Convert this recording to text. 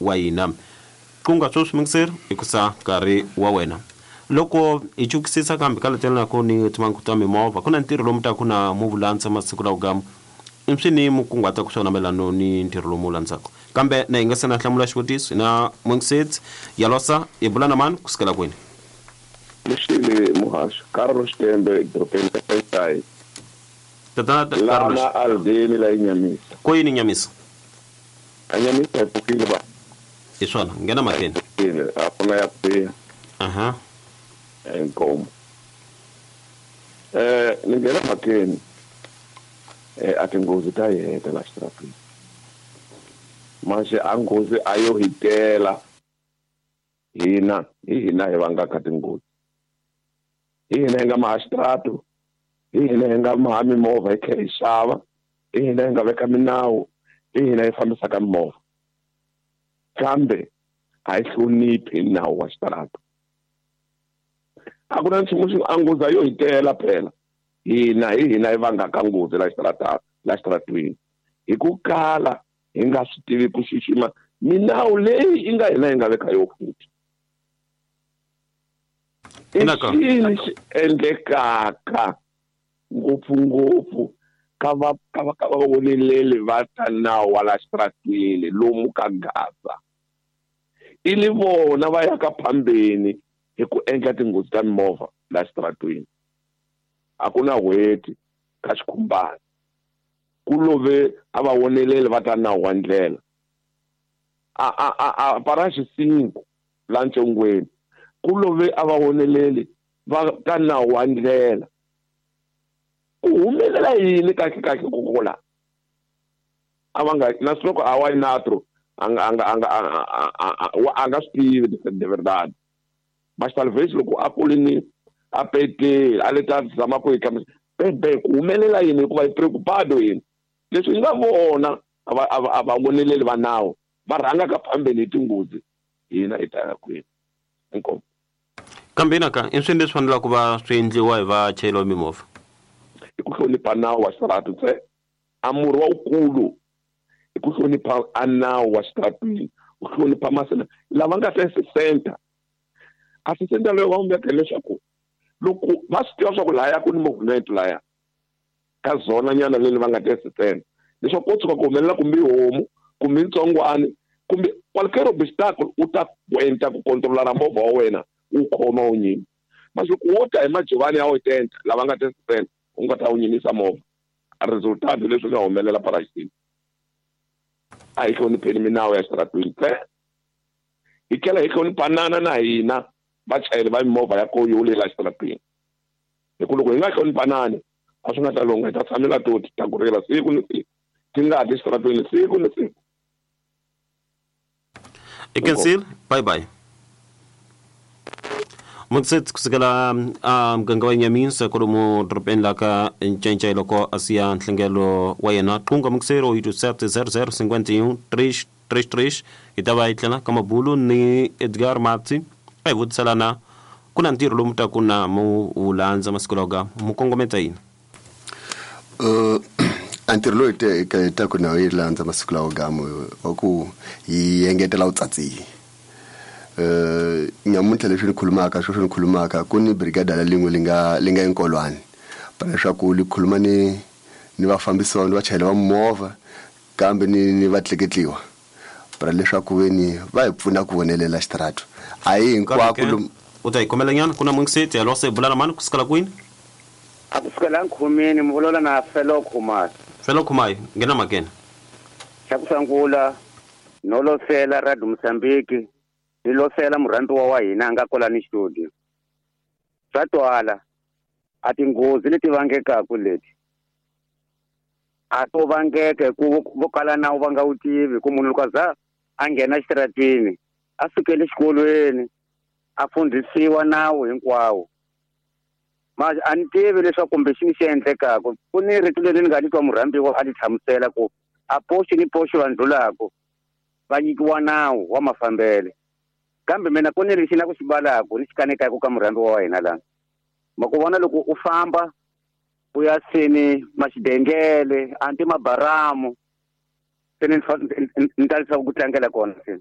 wa hina. Qunga sweswi mingiseri i ku sa nkarhi wa wena. Loko hi chukisisa kambe ka letelelako ni timhangu ta mimovha, ku na ntirho lomu taku na mu vulandza masiku lawa gamu. I swi ni mu kunguhataka swona mayelano ni ntirho lomu wu landzaka. Kambe na hi nga se na hlamula xivutiso, hi na Mungisedzi Yalosa, hi bula na mani kusukela kwini? Lexile muhaxi, Carlos Xitembe, edorobeni ra Xayi. Tatana Carlos. Lana Aldeni la Nyamisa. Ko yini Nyamisa? A Nyamisa hi pfukile ba. Hi swona, nghena mhakeni. Pfukile, a ku na ya ku biha. Aha. Inkomu. Ni nghena mhakeni. A tinghozi ta hi heta la xitarateni. Manje a nghozi a yo hi tela. Hina, hi hina hi vangaka tinghozi. Hi hina hi nga maha xitarato. Hi hina hi nga maha mimovha hi tlhela hi xava. Hi hina hi nga veka minawu. Hi hina hi fambisaka mimovha. Kambe a hi hloniphi nawu wa xitarato. A ku na nchumu xi a nghozi a yo hi tela phela. Hina hi hina hi vangaka nghozi la xitarateni, la xitaratweni. Hi ku kala hi nga swi tivi ku xixima minawu leyi yi nga hina hi nga veka yo futhi. I Inaka. xini xi endlekaka ngopfungopfu ka va ka va ka va voneleli va ta nawu wa la xitarateni lomu ka Gaza. I li vona va yaka phambeni hi ku endla tinghozi ta mimovha la xitarateni. A ku na n'hweti ka xikhumbana. Ku love a va voneleli va ta nawu wa ndlela. A para xisingu la ntsongweni. Ku love a va voneleli va ta nawu wa ndlela. Ku humelela yini kahle kahle ku kula? A va nga na loko a wa natro a nga a nga a nga a nga swi tivi de verdade. Mas talvez loko a kule ni a pete a le ta zama ku yi hlamusela. Bebe ku humelela yini hikuva hi preocupado yini? Leswi hi nga vona a va voneleli va nawu va rhangaka phambeni hi tinghozi hina hi ta ya kwini. Inkomu. Kambe inaka i swilo leswi fanelaka ku va swi endliwa hi vachayeri va mimovha. I ku hlonipha nawu wa xitarato ntsena. A murhi wa wukulu i ku hlonipha a nawu wa xitaratwini, u hlonipha masena lava nga ta center. A center leyi va veka leswaku loko va swi tiva swa ku laya ku ni movement laya ka zona nyana leyi va nga ta center, leswaku ko tshuka ku humelela kumbe homu kumbe ntsongwani kumbe qualquer obstacle u ta kwenta ku controla movha wa wena u khoma u nyima. Mas loko wo ta hi majivani ya wetenta lava nga ta center u nga ta wu nyimisa movha, a resultado leswi nga humelela parasitini. A hi hlonipheni minawu ya xitaratwini ntsena. Hi tlhela hi hloniphanana na hina vachayeri va mimovha ya ko yo le la xitaratwini. Hi ku loko hi nga hloniphanani a swi nga ta lungha, hi ta tshamela to ti ta ku rila siku ni siku, ti nga ti xitaratwini siku ni siku. I cancel, bye bye. Mutsetsi kusukela a muganga wa Nyamisa kwalomu dorobeni la ka Ncencei loko a siya nhlengelo wa yena. Qunga mukiseri oito sete zero zero cinquenta e um três três três. Hi ta va hi tlela ka mabulu ni Edgar Matsi a hi vutiselana ku na ntirho lomu taku na mu wu landza masiku lawa ka mu kongometa yini? A ntirho lowu hi taku na yi landza masiku lawa gamu wa ku hi engetela vutsatsi. Nyamuntlha leswi ni khulumaka, sweswi ni khulumaka ku ni brigada la lin'we li nga enkolwani. Para leswaku li khuluma ni vafambisi ni vachayeri va movha kambe ni vatleketliwa. Para leswaku veni va hi pfuna ku vonelela xitarato. A hi hinkwako Kambe ke, lomu u ta hi khomela nyana ku na Mungiseti, hello, se bula na mani kusukela kwini? A kusukela nkhumini, mi vulavula na Felo Khumalo. Felo Khumalo, nghena mhakeni. Xa ku sungula, no losela Radio Mozambique, ni losela murhandziwa wa hina a nga kwala ni studio. Swa twala, a tinghozi leti vangekaka leti a to vangeka hi ku vo kala nawu va nga wu tivi, ku munhu loko a za a nghena xitaratini a sukele exikolweni a fundhisiwa nawu hinkwawo. Manje a ni tivi leswaku kumbe xini xi endlekaka. Ku ni rito leri ni nga ni twa murhambiwa a ni hlamusela ku a poxi ni poxi va ndlulaka va nyikiwa nawu wa mafambele. Kambe mina ku ni lexi na ku xi balaka ni xi kanekaka ka murhambiwa wa hina lana. Ma ku vona loko u famba u ya seni maxidengele anti mabaramu se ni ni ta leswaku ku tlangela kona se.